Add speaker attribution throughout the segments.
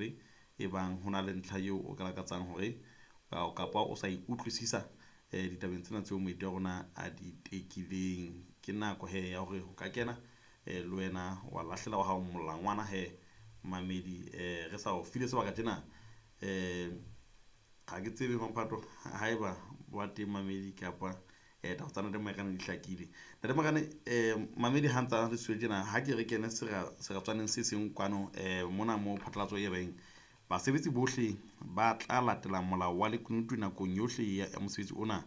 Speaker 1: 33 e bang ho na le ntlha eo o ka lakatsang hore kapa o sa e utlwisisa ditabeng tsena tseo moeti wa rona a di tekileng. Ke nako he ya hore o ka kena le wena wa lahlela wa hao molangwana he mamedi, re sa o file sebaka tjena. Ga ke tsebe Mamphato haeba wa teng mamedi kapa taba tsa Ntate Marekane di hlakile. Ntate Marekane, mamedi ha ntsa re siyo tjena, ha ke re kene seratswaneng se seng kwano mona mo phatlalatso e reng basebetsi bohle ba tla latela molao wa lekunutu nakong yohle ya mosebetsi ona.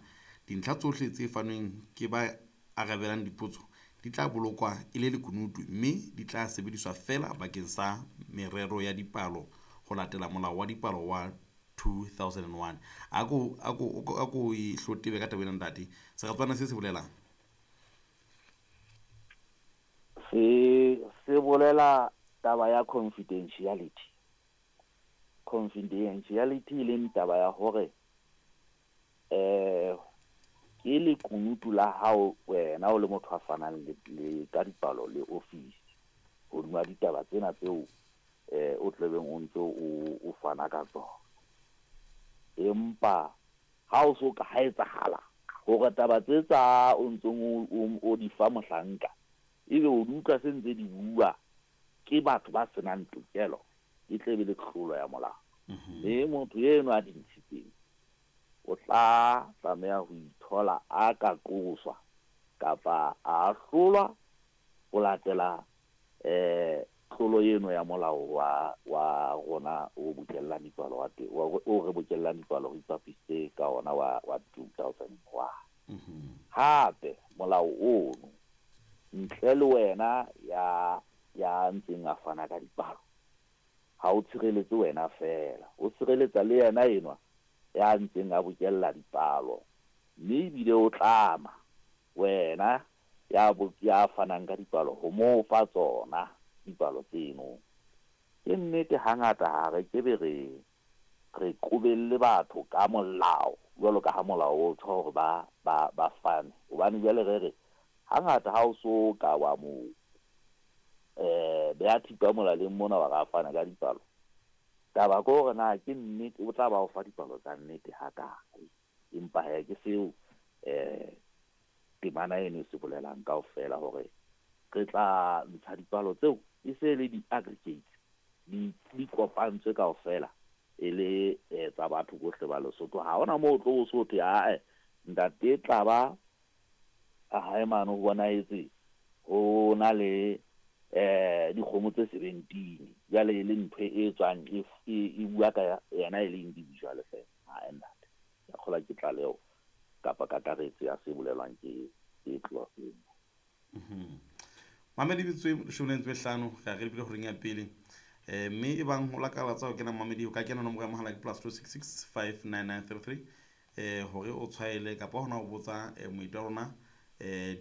Speaker 1: Dintlha tsohle tse fanweng ke ba arabelang dipotso di tla bolokwa e le lekunutu mme di tla sebediswa feela bakeng sa merero ya dipalo ho latela molao wa dipalo wa 2001. A ko e hlotebe ka taba ena, ntate. Seratswana se se bolelang?
Speaker 2: Se bolela taba ya confidentiality. Confidentiality e leng taba ya hore ke lekunutu la hao wena o le motho a fanang le ka dipalo le office hodima ditaba tsena tseo o tlebeng o ntse o fana ka tsona. Empa ha o so ka ha etsahala hore taba tse tsa o ntseng o di fa mohlanka, ebe o di utlwa se ntse di bua ke batho ba senang tokelo, e tle be le tlolo ya molao. Mme motho eno a di ntshitseng o tla tlameha ho ithola a ka qoswa kapa a ahlolwa ho latela tlolo eno ya molao wa rona o bokellang dipalo wa teng, o re bokellang dipalo re ipapisitse ka ona wa 2001. Hape molao ono, ntle le wena ya ntseng a fana ka dipalo, ha o tshireletse wena fela, o tshireletsa le yena enwa ya ntseng a bokella dipalo, mme ebile o tlama wena ya fanang ka dipalo ho mo fa tsona dipalo tseno. Ke nnete hangata ha re kebe re qobelle batho ka molao jwalo ka ha molao o tjho hore ba fane, hobane jwale re re hangata ha o so ka wa mo beha thipa molaleng mona wa re a fana ka dipalo, taba ke hore na ke nnete o tla ba o fa dipalo tsa nnete hakae. Empa he ke seo temana eno e se bolelang kaofela, hore re tla ntsha dipalo tseo e se le di-aggregates, di kopantswe kaofela e le tsa batho bohle ba Lesotho. Ha hona moo o tlo o so thwe ae ntate tla ba a hae mane ho bonahetse ho na le dikgomo tse 17, jwale e le ntho e tswang e bua ka yena e le individual fela. Ha ntate, ke a kgolwa ke tlaleho kapa kakaretso ya se bolelwang ke clause eno.
Speaker 1: Mamedi, metsotso e 15 re a re lebile horeng ya pele, mme e bang ho lakalatsa ho kena mamedi, o ka kena nomoro ya mohala ke +266 59933 hore o tshwaele kapa hona ho botsa moeti wa rona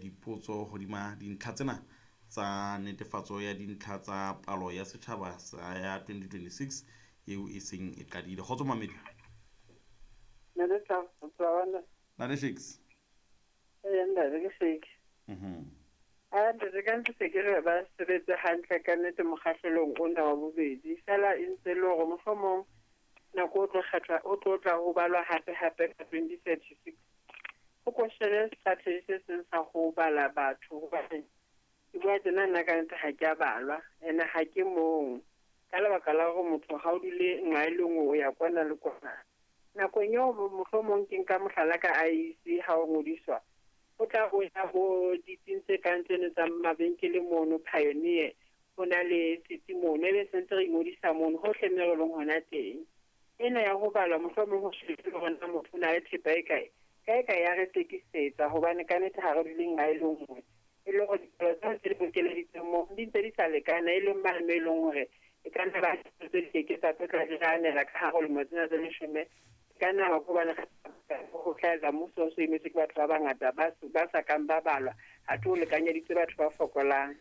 Speaker 1: dipotso hodima dintlha tsena tsa netefatso ya dintlha tsa palo ya setjhaba sa ya 2026 eo e seng e qadile. Kgotso mamedi. Ntate Shakes.
Speaker 3: Ee ntate, ke Shakes. A ntate, ka ntse se ke re ba sebetse hantle ka nnete mokgahlelong ona wa bobedi, fela e ntse le hore mohlomong nako o tlo kgethwa o tlo tla ho balwa hape hape ka 2036, ho ko shebe strategy se seng sa ho bala batho, hobane ke bua tjena nna ka nnete ha ke a balwa, ene ha ke mong ka lebaka la hore motho ha o dule nqa e le nngwe, o ya kwana le kwana. Nakong eo mohlomong ke nka mohlala ka IEC, ha o ngodiswa o tla o ya bo ditsing tse kang tseno tsa mabenkele mono Pioneer, ho na le setsi mono, ebe sentse re ingodisa mono hohle mme re leng hona teng. Ena ya ho balwa mohlomong ho shebe hore na motho o na le thepa e kae kae kae, ya re sekisetsa, hobane ka nnete ha re dule nqa e le nngwe, e le hore dipalo tseo tse di bokeleditseng moo di ntse di sa lekana, e leng mane mo e leng hore e ka nna ba tse di keke tsa tlo tla di anela ka hare ho lemo tsena tse 10. E ka nna ba hobane ho hlahella mmuso o so emetswe ke batho ba bangata ba sa kang ba balwa, athe o lekanyeditse batho ba fokolang.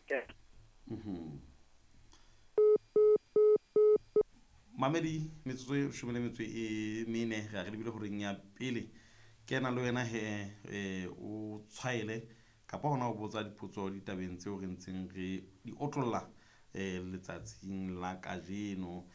Speaker 1: Mamedi, metsotso e 14 re a re lebile horeng ya pele. Kena le wena he o tshwaele kapa hona ho botsa dipotso ditabeng tseo re ntseng re di otlolla letsatsing la kajeno.